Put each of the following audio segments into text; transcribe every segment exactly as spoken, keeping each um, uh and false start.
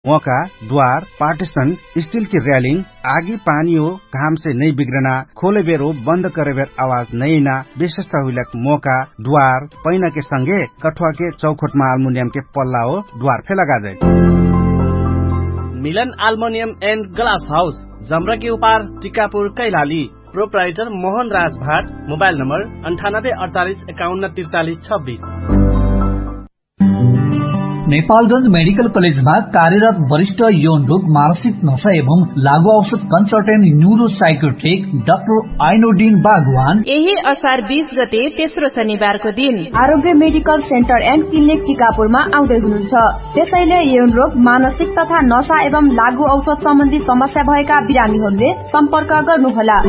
मोका द्वार partition still कि र्यालिङ आगी पानी हो घामसे नै बिग्रना खोले बेरो बन्द करे बेर आवाज नैना विशेषता हुइलक मोका द्वार पैना के संगे कठुवा के चौखोटमा आल्मुनियम के पल्ला हो द्वार फे लगाजै। मिलन आल्मुनियम एन्ड ग्लास हाउस जम्रा के उपार टिकापुर कैलाली। प्रोप्राइटर मोहन राज भाट। मोबाइल नम्बर अन्ठानब्बे अडचालिस एकाउन्न त्रिचालिस छब्बिस। नेपालगंज मेडिकल कलेजमा कार्यरत वरिष्ठ यौन रोग मानसिक नशा एवं लागु औषध कन्सल्टेन्ट न्युरो साइकोट्रिक डाक्टर आइनोडिन बागवान यही असार बीस गते तेस्रो शनिबारको दिन आरोग्य मेडिकल सेन्टर एन्ड क्लिनिक टिकापुरमा आउँदै हुनुहुन्छ। त्यसैले यौन रोग मानसिक तथा नशा एवं लागु औषध सम्बन्धी समस्या भएका बिरामीहरूले सम्पर्क गर्नुहोला।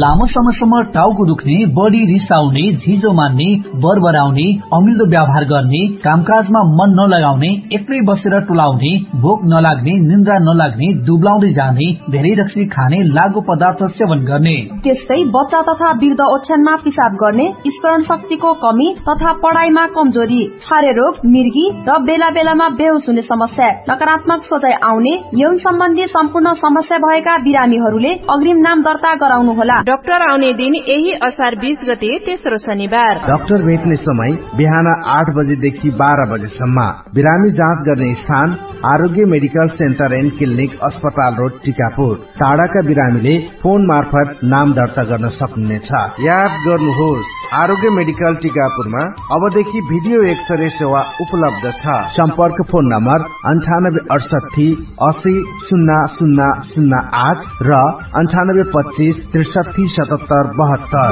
लामो समयसम्म टाउको दुख्ने, बढी रिसाउने, झिजो मान्ने, बरबराउने, अमिल्दो व्यवहार गर्ने, कामकाजमा मन नलगाउने, एक्लै बसेर टुलाउने, भोक नलाग्ने, निन्द्रा नलाग्ने, दुब्लाउँदै जाने, धेरै रक्सी खाने, लागु पदार्थ सेवन गर्ने, त्यस्तै बच्चा तथा वृद्ध ओछ्यानमा पिसाब गर्ने, स्मरण शक्तिको कमी तथा पढाइमा कमजोरी, छारे रोग, मिर्गी र बेला बेलामा बेहोस हुने समस्या, नकारात्मक सोचाइ आउने, यौन सम्बन्धी सम्पूर्ण समस्या भएका बिरामीहरूले अग्रिम नाम दर्ता गराउनुहोला। डाक्टर आउने दिन यही असार बीस गते तेस्रो शनिबार। डाक्टर भेट्ने समय बिहान आठ बजेदेखि बाह्र बजेसम्म। बिरामी जाँच गर्ने स्थान आरोग्य मेडिकल सेन्टर एन्ड क्लिनिक अस्पताल रोड टिकापुर। टाढाका बिरामीले फोन मार्फत नाम दर्ता गर्न सक्नुहुनेछ। याद गर्नुहोस्, आरोग्य मेडिकल टिकापुरमा अबदेखि भिडियो एक्सरे सेवा उपलब्ध छ। सम्पर्क फोन नम्बर अन्ठानब्बे अडसट्ठी असी सुन्ना सुन्ना सुन्ना आठ र अन्ठानब्बे पच्चिस त्रिसट्ठी सतहत्तर बहत्तर।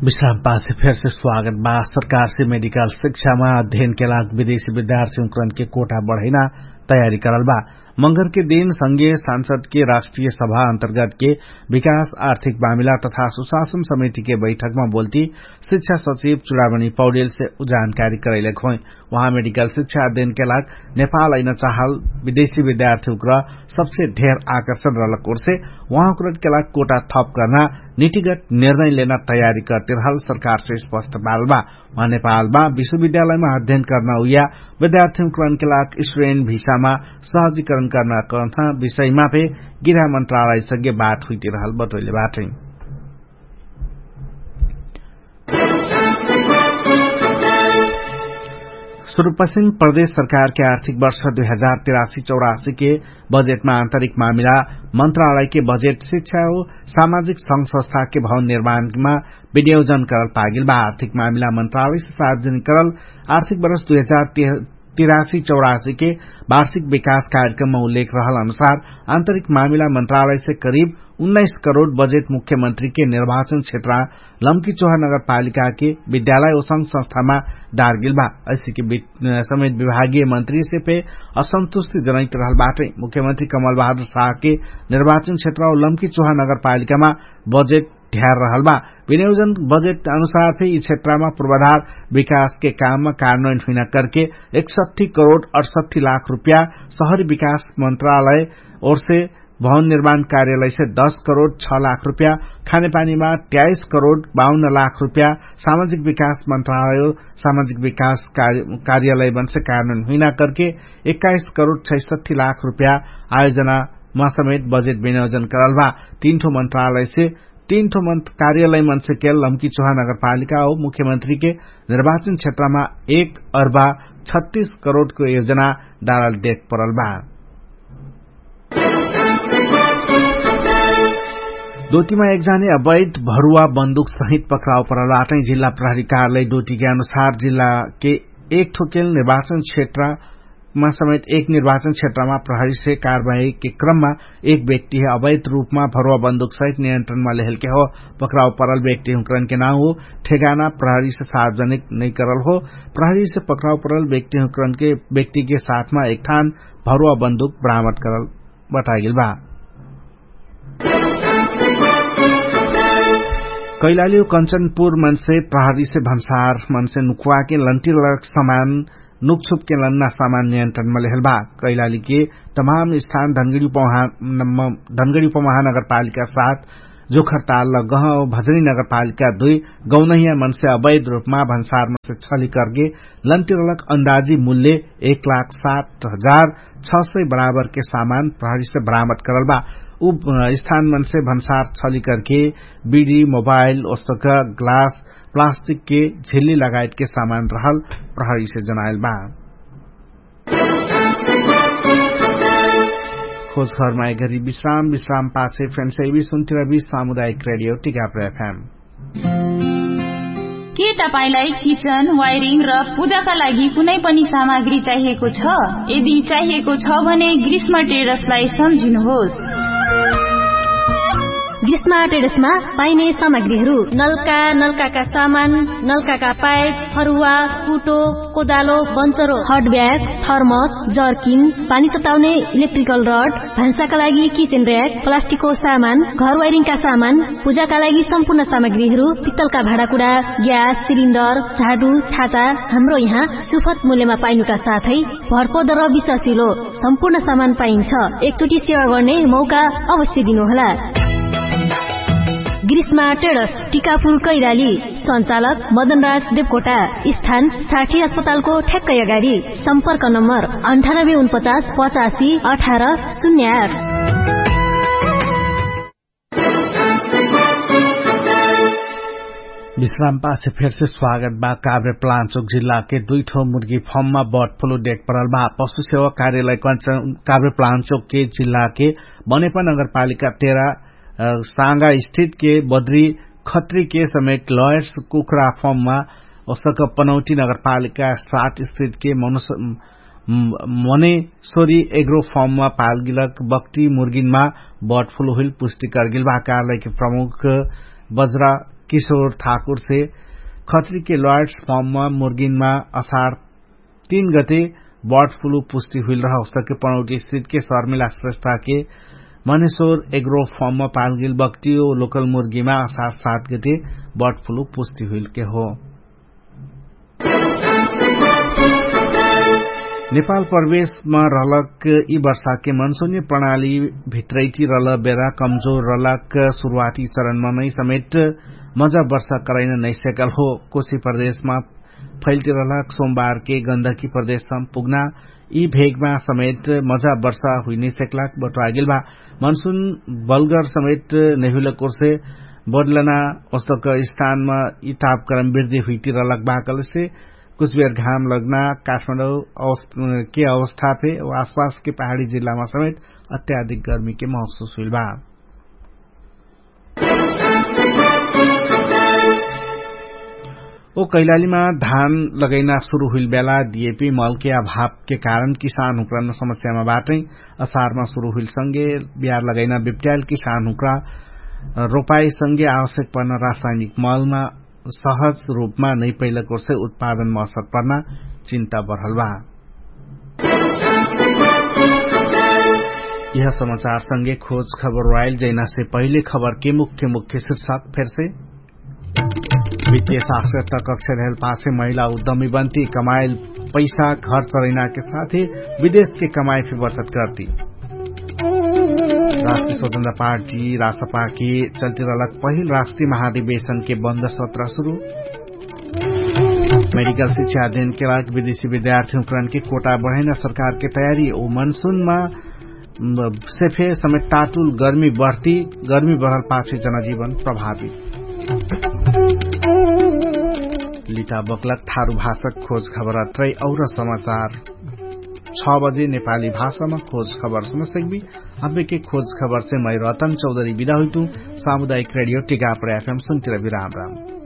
विश्राम पाछे फेरसे स्वागत बा। सरकारसे मेडिकल शिक्षामा अध्ययनके लाग विदेशी विद्यार्थी उक्रनके कोटा बढैना तयारी करल बा। मंगरके दिन संगे सांसदके राष्ट्रिय सभा अन्तर्गतके विकास आर्थिक मामिला तथा सुशासन समितिके बैठकमा बोल्ती शिक्षा सचिव चुडामणी पौडेलसे जानकारी करैलक होइ। उहाँ मेडिकल शिक्षा अध्ययनके लाग नेपाल अइन चाहल विदेशी विद्यार्थी उक्र सबसे धेर आकर्षण रहलक ओर्से उहाँ उक्रके लाग कोटा थप कर्ना निटिगत निर्णय लेना तयारी करतिरहल सरकारसे स्पष्ट बालबा। उहाँ नेपालमा विश्वविद्यालयमा अध्ययन कर्ना उइया विद्यार्थी उक्रके लाग स्ट्रेन भिसामा सहजीकरण कर्ना कर्ना विषयमा फे गृह मन्त्रालयसँगे बात हुइतिरहल बतोइले बाटै। सुरुपश्चिम प्रदेश सरकारके आर्थिक वर्ष दुई हजार तिरासी चौरासीके बजेटमा आन्तरिक मामिला मन्त्रालयके बजेट शिक्षा हो सामाजिक संघ संस्थाके भवन निर्माणमा विनियोजन करल पागेल बा। आर्थिक मामिला मन्त्रालयसे सार्वजनिक करल आर्थिक वर्ष दुई हजार तिरासी चौरासीके वार्षिक विकास कार्यक्रममा उल्लेख रहल अनुसार आन्तरिक मामिला मन्त्रालयसे करिब उन्नाइस करोड बजेट मुख्यमन्त्रीके निर्वाचन क्षेत्र लम्की चोहा नगरपालिकाके विद्यालय ओसंग संस्थामा डारगेल बा। ऐसेके समेत विभागीय मन्त्रीसे फे असन्तुष्टि जनैत रहल बाटै। मुख्यमन्त्री कमल बहादुर साहके निर्वाचन क्षेत्र लम्की चोहा नगरपालिकामा बजेट ढ्यार रहल बा। विनियोजन बजेट अनुसार फे यि क्षेत्रमा पूर्वाधार विकासके काममा कार्यान्वयन हुइना करके एकसट्ठी करोड अडसट्ठी लाख रुपियाँ सहरी विकास मन्त्रालय ओर्से भवन निर्माण कार्यालयसे दस करोड छ लाख रुपियाँ खानेपानीमा त्याइस करोड बाउन्न लाख रुपियाँ सामाजिक विकास मन्त्रालय सामाजिक विकास कार्यालय बन्से कार्यान्वयन हुइना करके एक्काइस करोड छैसट्ठी लाख रुपियाँ आयोजनामा समेत बजेट विनियोजन करल भा। तीन ठो मन्त्रालयसे तीन ठो मन्त्र कार्यालय मन्सेकेल लम्की चोहा नगरपालिका हो मुख्यमन्त्रीके निर्वाचन क्षेत्रमा एक अर्बा छत्तीस करोडको योजना डारल देख परल बा। दोतिमा एकजाने अवैध भरुवा बन्दुक सहित पक्राउ परल बाटै। जिल्ला प्रहरी कार्यालय दोतिके अनुसार जिल्लाके एक ठोकेल निर्वाचन क्षेत्र मा समेत एक निर्वाचन क्षेत्रमा प्रहरीसे कारवाहीके क्रममा एक व्यक्तिहे अवैध रूपमा भरुवा बन्दुकसहित नियन्त्रणमा लेहेलके हो। पक्राउ परल व्यक्तिहुँकरनके नाउ हो ठेगाना प्रहरीसे सार्वजनिक नैकरल हो। प्रहरीसे पक्राउ परल व्यक्तिहुँकरनके व्यक्तिके साथमा एकठान भरुवा बन्दुक बरामद करल बतागेल बा। कैलाली कञ्चनपुर मन्से प्रहरीसे भन्सार मन्से नुक्वाके लन्टिलक समान नुक्छुपके लन्ना सामान नियन्त्रणमा लेहेल बा। कैलालीके तमाम स्थान धनगडी उपमहानगरपालिका साथ जोखरताल गह भजनी नगरपालिका दुई गौनहिया मनसे अवैध रूपमा भन्सार मनसे छली कर्गे लन्तिरलक अन्दाजी मूल्य एक लाख सात हजार छ सय बराबरके सामान प्रहरीसे बरामद करल बा। उ स्थान मनसे भन्सार छली कर्गे बिडी मोबाइल ओस्तक ग्लास प्लास्टिकके झिल्ली लगायतके सामान रहल प्रहरीसे जनाइल बा। खोज खबरमा एघरी विश्राम विश्राम पाछे फेन्सैबी सुन्तिरबी सामुदायिक रेडियो टिकाप्र एफएम। के तपाईंलाई किचन वायरिङ र पूजाका लागि कुनै पनि सामग्री चाहिएको छ? यदि चाहिएको छ भने ग्रीष्म टेरसलाई सम्झिनुहोस्। ग्रीष्म टेरसमा पाइने सामग्रीहरू नल्का नल्काका सामान, नल्काका पाइप, फरुवा, कुटो, कोदालो, बन्चरो, हटब्याग, थर्मस, जर्किन, पानी सताउने इलेक्ट्रिकल रड, भान्साका लागि किचेन र्याक, प्लास्टिकको सामान, घर वाइरिङका सामान, पूजाका लागि सम्पूर्ण सामग्रीहरू, पित्तलका भाँडाकुडा, ग्यास सिलिन्डर, झाडु, छाता, हाम्रो यहाँ सुफत मूल्यमा पाइनुका साथै भरपद र विश्वासिलो सम्पूर्ण सामान पाइन्छ। एकचोटि सेवा गर्ने मौका अवश्य दिनुहोला। ग्रीष्मा टेडस, टिकापुर कैलाली। सञ्चालक मदनराज देवकोटा। स्थान साठी अस्पतालको ठ्याक्कै अगाडि। सम्पर्क नम्बर अन्ठानब्बे उनपचास पचासी अठार शून्य आठ। विश्राम पाछे फेरसे स्वागत बा। काभ्रे प्लान्चोक जिल्लाके दुइठो मुर्गी फर्ममा बर्ड फ्लू देख परल बा। पशु सेवा कार्यालय काभ्रे प्लान्चोकके जिल्लाके बनेपा नगरपालिका तेरा साँगा स्थितके बद्री खत्रीके समेत लयर्स कुखुरा फर्ममा ओसक पनौटी नगरपालिका सात स्थितके मनुष्य मने सोरी एग्रो फर्ममा पालगिलक बक्टी मुर्गिनमा बर्ड फ्लू हुइल पुष्टि करगिल बा। कार्यालयके प्रमुख बज्रा किशोर ठाकुरसे खत्रीके लयर्स फर्ममा मुर्गिनमा असार तीन गते बर्ड फ्लू पुष्टि हुइल रह ओसके पनौटी स्थितके शर्मिला श्रेष्ठाके मनेश्वर एग्रो फर्ममा पालगिल बक्टियो लोकल मुर्गीमा असार सात गते बर्ड फ्लू पुष्टि हुइलके हो। नेपाल प्रवेशमा रहलक यि वर्षाके मनसुनी प्रणाली भित्रैति रहल बेरा कमजोर रहलक सुरुवाती चरणमा नै समेत मजा वर्षा करैन नैसेकल हो। कोशी प्रदेशमा फैल्ति रहलक सोमबारके गन्धकी प्रदेशमा पुग्ना यि भेगमा समेत मजा वर्षा हुइनैसेकलक बटुवागेल भा मनसुन बलगर समेत नैहुलक ओर्से बदलना ओस्तक स्थानमा यि तापक्रम वृद्धि हुइति रहलक भाकलसे कुछ बेर घाम लग्ना काठमाडौँ के अवस्था फे आसपासके पहाडी जिल्लामा समेत अत्याधिक गर्मीके महसुस हुइल भा। ओ कैलालीमा धान लगैना सुरु हुइल बेला दिएपी मलके अभावके कारण किसान हुक्रन समस्यामा बाटै। असारमा सुरु हुइल संगे बिहार लगैना बिप्ट्याल किसान हुक्रा रोपाई संगे आवश्यक पर्न रासायनिक मलमा सहज रूपमा नै पैलकोर्से उत्पादनमा असर पर्ना चिन्ता बढल बा। यह समाचार संगे खोज खबर वाइल जैनासे पहिले खबरके मुख्य मुख्य शिर्षक फेरसे वित्तीय साक्षरता कक्षा रहल पाछे महिला उद्यमी बन्ती कमाइल पैसा घर चरैनाके साथे विदेशके कमाइ फे बचत गर्ती। राष्ट्रिय स्वतन्त्र पार्टी राष्ट्रपाके चल्तिरलक पहिल राष्ट्रिय महाधिवेशनके बन्द सत्र सुरु। मेडिकल शिक्षा अध्ययनके लाग विदेशी विद्यार्थी हुक्रनके कोटा बढैना सरकारके तयारी ओ मनसुनमा सेफे समेत टाटुल गर्मी बढती गर्मी बढल पाछे जनजीवन प्रभावित। लिटा बक्लक थारु भाषक खोज खबर अत्रै और समाचार छ बजे नेपाली भाषामा खोज खबर सुनसक्बी। अबेके खोज खबरसे मै रतन चौधरी बिदा हुइतु। सामुदायिक रेडियो टिकापर एफएम सुन्तिर विराम राम।